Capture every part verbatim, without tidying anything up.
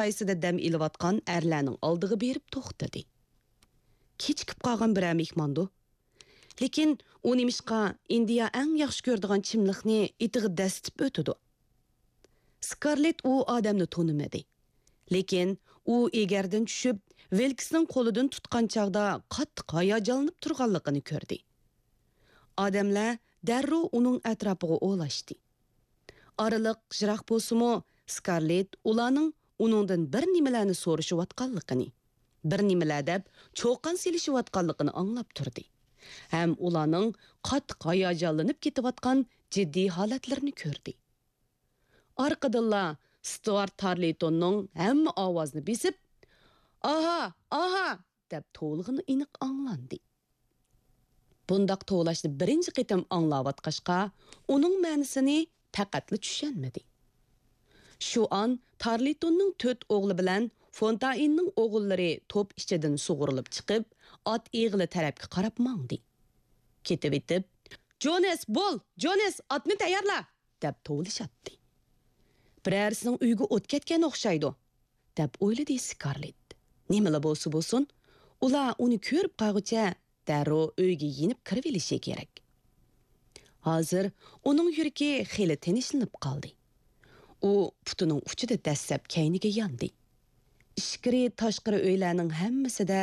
سايىسىدا دەم ئېلىۋاتقان ئەرلەرنىڭ ئالدىغا بېرىپ توختىدى. كېچىكىپ قالغان بىرەر مېھماندۇ؟ لېكىن ئۇ نېمىشقا ئىندىيا ئەڭ ياخشى كۆرىدىغان چىملىقنى ئېتىغا دەسسىتىپ ئۆتىدۇ. سكارلېت ئۇ ئادەمنى تونۇمىدى. لېكىن ئۇ ئېگەردىن چۈشۈپ، ۋىلكسنىڭ قولىدىن تۇتقان چاغدا قاتتىق ھاياجانلىنىپ تۇرغانلىقىنى كۆردى. ئادەملەر دەررۇ ئۇنىڭ ئەتراپىغا ئولاشتى. ئارىلىق يىراق بولسىمۇ، سكارلېت ئۇلارنىڭ ئۇنىڭدىن بىر نېمىلەرنى سورىشىۋاتقانلىقىنى، بىر نېمىلەر دەپ چۇقان سېلىشىۋاتقانلىقىنى ئاڭلاپ تۇردى ھەم ئۇلارنىڭ قاتتىق ھاياجانلىنىپ كېتىۋاتقان جىددىي ھالەتلىرىنى كۆردى. ئارقىدىنلا ستۇئارت تارلىتوننىڭ ھەممە ئاۋازنى بېسىپ، «ئاھا! ئاھا!» دەپ توۋلىغىنى ئېنىق ئاڭلاندى. بۇنداق توۋلاشنى بىرىنچى قېتىم ئاڭلاۋاتقاچقا، ئۇنىڭ مەنىسىنى پەقەتلا چۈشەنمىدى. شۇ ئان تارلىتوننىڭ تۆت ئوغلى بىلەن فونتائىننىڭ ئوغۇللىرى توپ ئىچىدىن سۇغۇرۇلۇپ چىقىپ، ئات ئېغىلى تەرەپكە قاراپ ماڭدى. كېتىۋېتىپ، «جونس، بول! جونس، ئاتنى تەييارلا!» دەپ توۋلىشاتتى. «بىرەرسىنىڭ ئۆيىگە ئوت كەتكەن ئوخشايدۇ» دەپ ئويلىدى سكارلېت. نېمىلا بولسا بولسۇن، ئۇلار ئۇنى كۆرۈپ قالغۇچە دەررۇ ئۆيگە يېنىپ كىرىۋېلىشى كېرەك. ھازىر ئۇنىڭ يۈرىكى خېلى تىنچلىنىپ قالدى. ئۇ پۇتىنىڭ ئۇچىدا دەسسەپ كەينىگە ياندى. ئىچكىرى تاشقىرى ئۆيلەرنىڭ ھەممىسىدە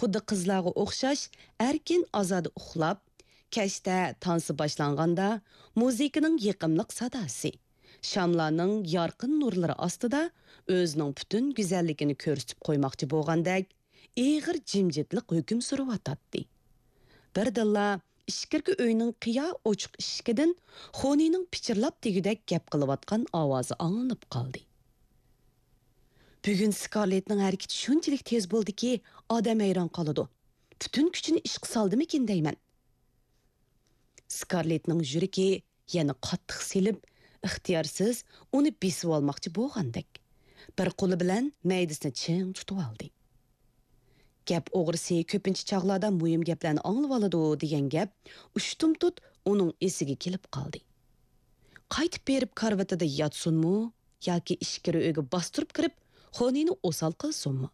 خۇددى قىزلارغا ئوخشاش ئەركىن ئازادە ئۇخلاپ، كەچتە تانسا باشلانغاندا مۇزىكىنىڭ يېقىملىق ساداسى، شاملارنىڭ يارقىن نۇرلىرى ئاستىدا ئۆزىنىڭ پۈتۈن گۈزەللىكىنى كۆرسىتىپ قويماقچى بولغاندەك ئېغىر جىمجىتلىق ھۆكۈم سۈرۈۋاتاتتى. بىردىنلا ئىچكىرىكى ئۆينىڭ قىيا ئوچۇق ئىشىكىدىن خونىنىڭ پىچىرلاپ دېگۈدەك گەپ قىلىۋاتقان ئاۋازى ئاڭلىنىپ قالدى. بۈگۈن سكارلېتنىڭ ھەرىكىتى شۇنچىلىك تېز بولدىكى، ئادەم ھەيران قالىدۇ. پۈتۈن كۈچىنى ئىشقا سالدىمىكىن دەيمەن. سكارلېتنىڭ يۈرىكى يەنە قاتتىق سېلىپ، ئىختىيارسىز ئۇنى بېسىۋالماقچى بولغاندەك، بىر قولى بىلەن مەيدىسىنى چىڭ تۇتۇۋالدى. گەپ ئوغرىسى كۆپىنچە چاغلاردا مۇھىم گەپلەرنى ئاڭلىۋالىدۇ دېگەن گەپ ئۇشتۇمتۇت ئۇنىڭ ئېسىگە كېلىپ قالدى. قايتىپ بېرىپ كارىۋىتىدا ياتسۇنمۇ ياكى ئىچكىرى ئۆيگە باستۇرۇپ كىرىپ، خونىنى ئوسال قىلسۇنمۇ؟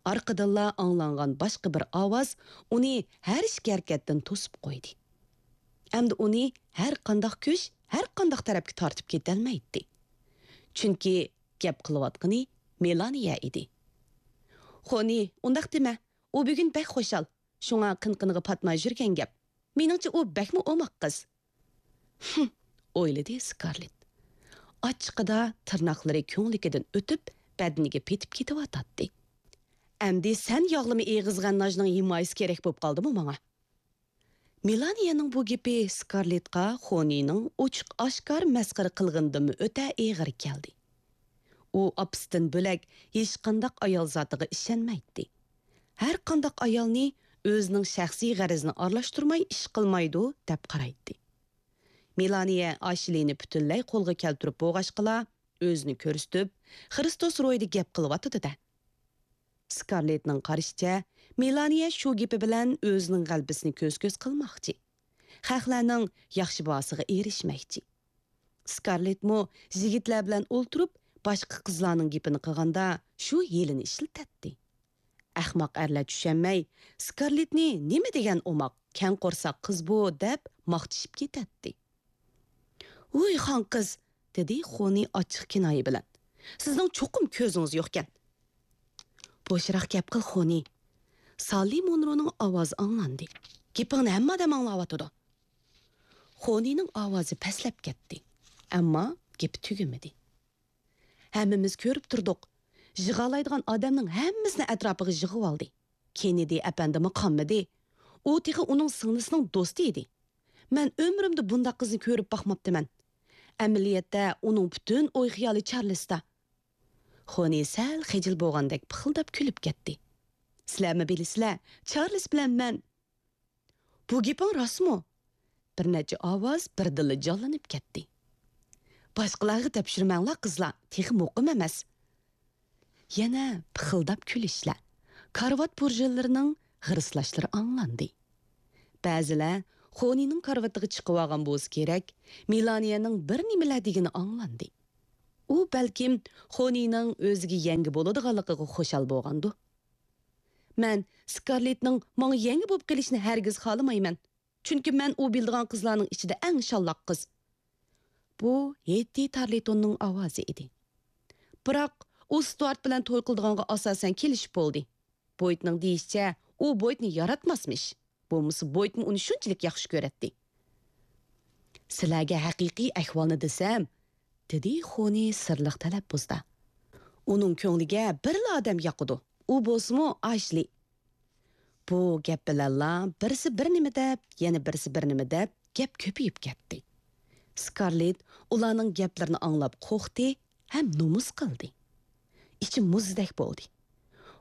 ئارقىدىنلا ئاڭلانغان باشقا بىر ئاۋاز ئۇنى ھەر ئىككى ھەرىكەتتىن توسۇپ قويدى. ئەمدى ئۇنى ھەر قانداق كۈچ، ھەر قانداق تەرەپكە تارتىپ كېتەلمەيتتى. چۈنكى گەپ قىلىۋاتقىنى مېلانىيە ئىدى. خونى، ئۇنداق دېمە، ئۇ بۈگۈن بەك خۇشال، شۇڭا قىن-قىنىغا پاتماي يۈرگەن گەپ. مېنىڭچە ئۇ بەكمۇ ئوماق قىز. ھىم، ئويلىدى سكارلېت. ئاچچىقىدا تىرناقلىرى كۆڭلىكىدىن ئۆتۈپ، بەدىنىگە پېتىپ كېتىۋاتاتتى. ئەمدى سەن ياغلىما ئېغىزغا ناجنىڭ ھىمايىسى كېرەك بولۇپ قالدىمۇ ماڭا؟ مېلانىيەنىڭ بۇ گېپى سكارلېتقا خونىنىڭ ئوچۇق-ئاشكارا مەسخىرە قىلغىنىدىنمۇ ئۆتە ئېغىر كەلدى. ئۇ ئاپىسىدىن بۆلەك ھېچقانداق ئايال زاتىغا ئىشەنمەيتتى. ھەر قانداق ئايالنى ئۆزىنىڭ شەخسىي غەرىزىنى ئارىلاشتۇرماي ئىش قىلمايدۇ، دەپ قارايتتى. مېلانىيە ئاشلىنى پۈتۈنلەي قولغا كەلتۈرۈپ بولغاچقىلا، ئۆزىنى كۆرسىتىپ، خرىستوس روھىدا گەپ قىلىۋاتىدۇ-دە. سكارلېتنىڭ قارىشىچە، مېلانىيە شۇ گېپى بىلەن ئۆزىنىڭ غەلىبىسىنى كۆز-كۆز قىلماقچى. خەقلەرنىڭ ياخشى باھاسىغا ئېرىشمەكچى. سكارلېتمۇ يىگىتلەر بىلەن ئولتۇرۇپ، باشقا قىزلارنىڭ گېپىنى قىلغاندا شۇ ھىيلىنى ئىشلىتەتتى. ئەخمەق ئەرلەر چۈشەنمەي، سكارلېتنى نېمە دېگەن ئوماق، كەڭ قورساق قىز بۇ، دەپ ماختىشىپ كېتەتتى. ۋۇي خان قىز، دېدى خونى ئاچچىق كىنايە بىلەن. سىزنىڭ چوقۇم كۆزىڭىز يوقكەن. بوشراق گەپ قىل، خونى. ساللى مونرونىڭ ئاۋازى ئاڭلاندى. گېپىڭنى ھەممە ئادەم ئاڭلاۋاتىدۇ. خونىنىڭ ئاۋازى پەسلەپ كەتتى. ئەمما گېپى تۈگىمىدى. ھەممىمىز كۆرۈپ تۇردۇق. يىغالايدىغان ئادەمنىڭ ھەممىسىنى ئەتراپىغا يىغىۋالدى. كېننېدى ئەپەندىمۇ قانمىدى. ئۇ تېخى ئۇنىڭ سىڭلىسىنىڭ دوستى ئىدى. مەن ئۆمرۈمدە بۇنداق قىزنى كۆرۈپ باقماپتىمەن. ئەمەلىيەتتە ئۇنىڭ پۈتۈن ئوي-خىيالى چارلىستا. خونى سەل خىجىل بولغاندەك پىخىلداپ كۈلۈپ كەتتى. سىلەرمۇ بىلىسىلەر، چارلىس بىلەن مەن. بۇ گېپىڭ راستمۇ؟ بىر نەچچە ئاۋاز بىردىنلا جانلىنىپ كەتتى. باشقىلارغا تەپشۈرمەڭلار قىزلار، تېخى مۇقىم ئەمەس. يەنە پىخىلداپ كۈلۈشلەر، كارىۋات پۇرژىنلىرىنىڭ غىرسلاشلىرى ئاڭلاندى. بەزىلەر خونىنىڭ كارىۋىتىغا چىقىۋالغان بولسا كېرەك، مېلانىيەنىڭ بىر نېمىلەر دېگىنى ئاڭلاندى. ئۇ بەلكىم خونىنىڭ ئۆزىگە يەڭگە بولىدىغانلىقىغا خۇشال بولغاندۇ. مەن سكارلېتنىڭ ماڭا يەڭگە بولۇپ قېلىشىنى ھەرگىز خالىمايمەن، چۈنكى مەن ئۇ بىلىدىغان قىزلارنىڭ ئىچىدە ئەڭ شاللاق قىز. بۇ ھېتتى تارلىتوننىڭ ئاۋازى ئىدى. بىراق ئۇ ستۇئارت بىلەن توي قىلىدىغانغا ئاساسەن كېلىشىپ بولدى. بويتنىڭ دېيىشىچە، ئۇ بويتنى ياراتماسمىش. بولمىسا بويتمۇ ئۇنى شۇنچىلىك ياخشى كۆرەتتى. سىلەرگە ھەقىقىي ئەھۋالنى دېسەم، دېدى خونى سىرلىق تەلەپپۇزدا. ئۇنىڭ كۆڭلىگە بىرلا ئادەم ياقىدۇ. ئۇ بولسىمۇ ئاشلى. بۇ گەپ بىلەنلا بىرسى بىر نېمە دەپ، يەنە بىرسى بىر نېمە دەپ گەپ كۆپىيىپ كەتتى. سكارلېت ئۇلارنىڭ گەپلىرىنى ئاڭلاپ قورقتى ھەم نومۇس قىلدى. ئىچى مۇزدەك بولدى.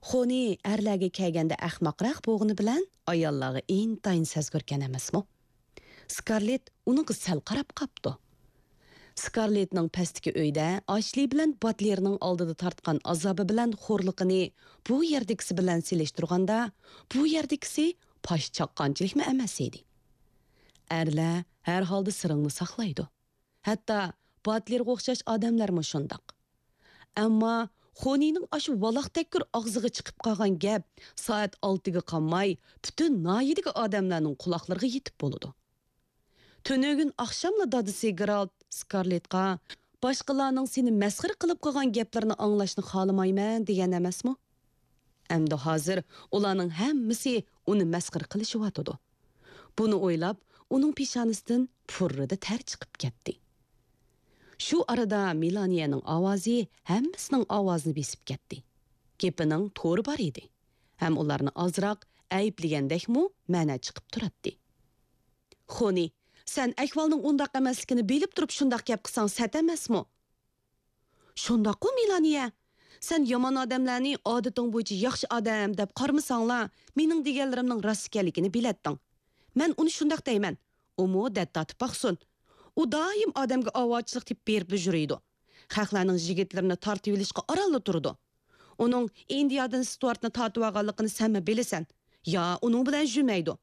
خونى ئەرلەرگە كەلگەندە ئەخمەقرەك بولغىنى بىلەن ئاياللارغا ئىنتايىن سەزگۈركەن ئەمەسمۇ؟ سكارلېت ئۇنىڭغا سەل قاراپ قاپتۇ. سكارلېتنىڭ پەستىكى ئۆيدە ئاشلى بىلەن باتلېرنىڭ ئالدىدا تارتقان ئازابى بىلەن خورلۇقىنى بۇ يەردىكىسى بىلەن سېلىشتۇرغاندا، بۇ يەردىكىسى پاش چاققانچىلىكمۇ ئەمەس ئىدى. ئەرلەر ھەر ھالدا سىرىڭنى ساقلايدۇ. ھەتتا باتلېرغا ئوخشاش ئادەملەرمۇ شۇنداق. ئەمما خونىنىڭ ئاشۇ ۋالاقتەككۈر ئاغزىغا چىقىپ قالغان گەپ سائەت ئالتىگە قالماي پۈتۈن ناھىيىدىكى ئادەملەرنىڭ قۇلاقلىرىغا يېتىپ بولىدۇ. تۈنۈگۈن ئاخشاملا دادىسى گېرالت سكارلېتقا، «باشقىلارنىڭ سېنى مەسخىرە قىلىپ قىلغان گەپلىرىنى ئاڭلاشنى خالىمايمەن» دېگەن ئەمەسمۇ؟ ئەمدى ھازىر ئۇلارنىڭ ھەممىسى ئۇنى مەسخىرە قىلىشىۋاتىدۇ. بۇنى ئويلاپ، ئۇنىڭ پېشانىسىدىن پۇررىدە تەر چىقىپ كەتتى. شۇ ئارىدا مېلانىيەنىڭ ئاۋازى ھەممىسىنىڭ ئاۋازىنى بېسىپ كەتتى. گېپىنىڭ تورى بار ئىدى. ھەم ئۇلارنى ئازراق ئەيىبلىگەندەكمۇ مەنە چىقىپ تۇراتتى. خونى، سەن ئەھۋالنىڭ ئۇنداق ئەمەسلىكىنى بىلىپ تۇرۇپ شۇنداق گەپ قىلساڭ سەت ئەمەسمۇ؟ شۇنداققۇ، مېلانىيە؟ سەن يامان ئادەملەرنى ئادىتىڭ بويىچە ياخشى ئادەم دەپ قارىمىساڭلا، مېنىڭ دېگەنلىرىمنىڭ راست ئىكەنلىكىنى بىلەتتىڭ. مەن ئۇنى شۇنداق دەيمەن. ئۇمۇ دەت تارتىپ باقسۇن. ئۇ دائىم ئادەمگە ئاۋارىچىلىك تېپىپ بېرىپلا يۈرىدۇ. خەقلەرنىڭ يىگىتلىرىنى تارتىۋېلىشقا ئارانلا تۇرىدۇ. ئۇنىڭ ئىندىيادىن ستۇئارتنى تارتىۋالغانلىقىنى سەنمۇ بىلىسەن. يا، ئۇنىڭ بىلەن يۈرمەيدۇ.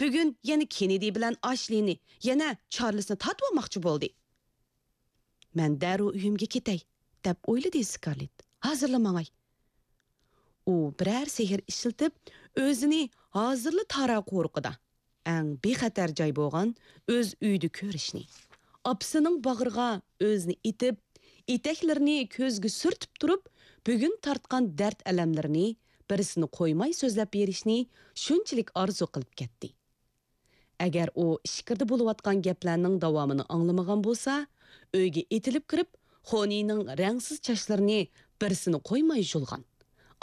بۈگۈن يەنە كېننېدى بىلەن ئاشلىنى، يەنە چارلىسنى تارتىۋالماقچى بولدى. مەن دەررۇ ئۆيۈمگە كېتەي، دەپ ئويلىدى سكارلېت. ھازىرلا ماڭاي. ئۇ بىرەر سېھىر ئىشلىتىپ، ئۆزىنى ھازىرلا تارا قورۇقىدا، ئەڭ بىخەتەر جاي بولغان ئۆز ئۆيىدە كۆرۈشنى، ئاپىسىنىڭ باغرىغا ئۆزىنى ئېتىپ، ئېتەكلىرىنى كۆزگە سۈرتۈپ تۇرۇپ، بۈگۈن تارتقان دەرد-ئەلەملىرىنى بىرسىنى قويماي سۆزلەپ بېرىشنى شۇنچىلىك ئارزۇ قىلىپ كەتتى. ئەگەر ئۇ ئىچكىرىدە بولۇۋاتقان گەپلەرنىڭ داۋامىنى ئاڭلىمىغان بولسا، ئۆيگە ئېتىلىپ كىرىپ، خونىنىڭ رەڭسىز چاچلىرىنى بىرسىنى قويماي يۇلغان.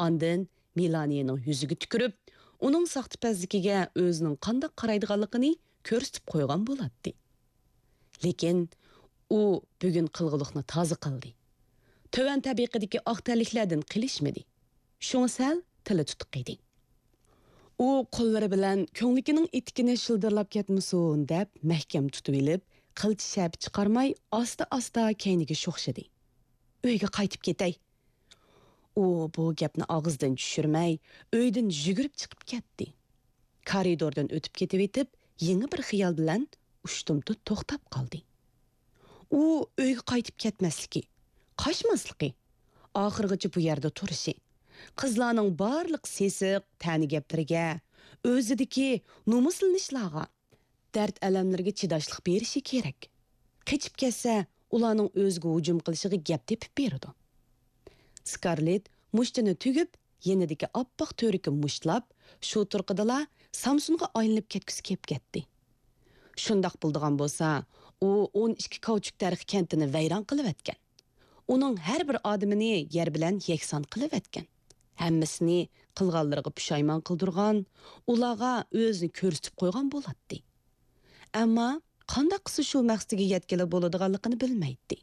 ئاندىن مېلانىيەنىڭ يۈزىگە تۈكۈرۈپ، ئۇنىڭ ساختىپەزلىكىگە ئۆزىنىڭ قانداق قارايدىغانلىقىنى كۆرسىتىپ قويغان بولاتتى. لېكىن ئۇ بۈگۈن قىلغۇلۇقنى تازا قىلدى. تۆۋەن تەبىقىدىكى ئاق تەنلىكلەردىن قېلىشمىدى. شۇڭا سەل تىلى تۇتۇق ئىدى. ئۇ قوللىرى بىلەن كۆڭلىكىنىڭ ئېتىكىنى شىلدىرلاپ كەتمىسۇن دەپ مەھكەم تۇتۇۋېلىپ، قىلچە شەپە چىقارماي ئاستا-ئاستا كەينىگە شوخشىدى. ئۆيگە قايتىپ كېتەي. ئۇ بۇ گەپنى ئاغزىدىن چۈشۈرمەي، ئۆيدىن يۈگۈرۈپ چىقىپ كەتتى. كارىدوردىن ئۆتۈپ كېتىۋېتىپ، يېڭى بىر خىيال بىلەن ئۇشتۇمتۇت توختاپ قالدى. ئۇ ئۆيگە قايتىپ كەتمەسلىكى، قاچماسلىقى، ئاخىرغىچە بۇ يەردە تۇرۇشى، قىزلارنىڭ بارلىق سېسىق، تەنە گەپلىرىگە، ئۆزىدىكى نومۇسلىنىشلارغا، دەرد-ئەلەملىرىگە چىداشلىق بېرىشى كېرەك. قېچىپ كەتسە، ئۇلارنىڭ ئۆزىگە ھۇجۇم قىلىشىغا گەپ تېپىپ بېرىدۇ. سكارلېت مۇشتىنى تۈگۈپ، يېنىدىكى ئاپئاق تۈركى مۇشتلاپ، شۇ تۇرقىدىلا سامسونغا ئايلىنىپ كەتكۈسى كېلىپ كەتتى. شۇنداق بولىدىغان بولسا، ئۇ ئون ئىككى كاۋچۇك تەرخى كەنتىنى ۋەيران قىلىۋەتكەن. ئۇنىڭ ھەر بىر ئادىمىنى يەر بىلەن يەكسان قىلىۋەتكەن. ھەممىسىنى قىلغانلىرىغا پۇشايمان قىلدۇرغان، ئۇلارغا ئۆزىنى كۆرسىتىپ قويغان بولاتتى. ئەمما قانداق قىلسا شۇ مەقسىتىگە يەتكىلى بولىدىغانلىقىنى بىلمەيتتى.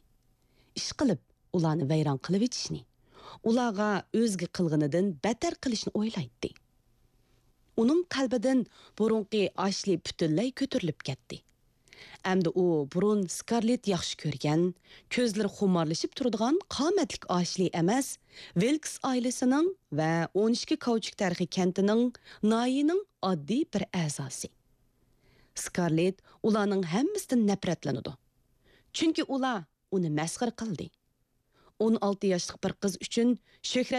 ئىشقىلىپ، ئۇلارنى ۋەيران قىلىۋېتىشنى، ئۇلارغا ئۆزگە قىلغىنىدىن بەتتەر قىلىشنى ئويلايتتى. ئۇنىڭ قەلبىدىن بۇرۇنقى ئاشلى پۈتۈنلەي كۆتۈرۈلۈپ كەتتى. ئەمدى ئۇ بۇرۇن سكارلېت ياخشى كۆرگەن، كۆزلىرى خۇمارلىشىپ تۇرىدىغان قامەتلىك ئاشلى ئەمەس، ۋىلكس ئائىلىسىنىڭ ۋە ئون ئىككى كاۋچۇك تەرخى كەنتىنىڭ، ناھىيىنىڭ ئاددىي بىر ئەزاسى. سكارلېت ئۇلارنىڭ ھەممىسىدىن نەپرەتلىنىدۇ. چۈنكى ئۇلار ئۇنى مەسخىرە قىلدى. ئون ئالتە ياشلىق بىر قىز ئۈچۈن شۆھرەت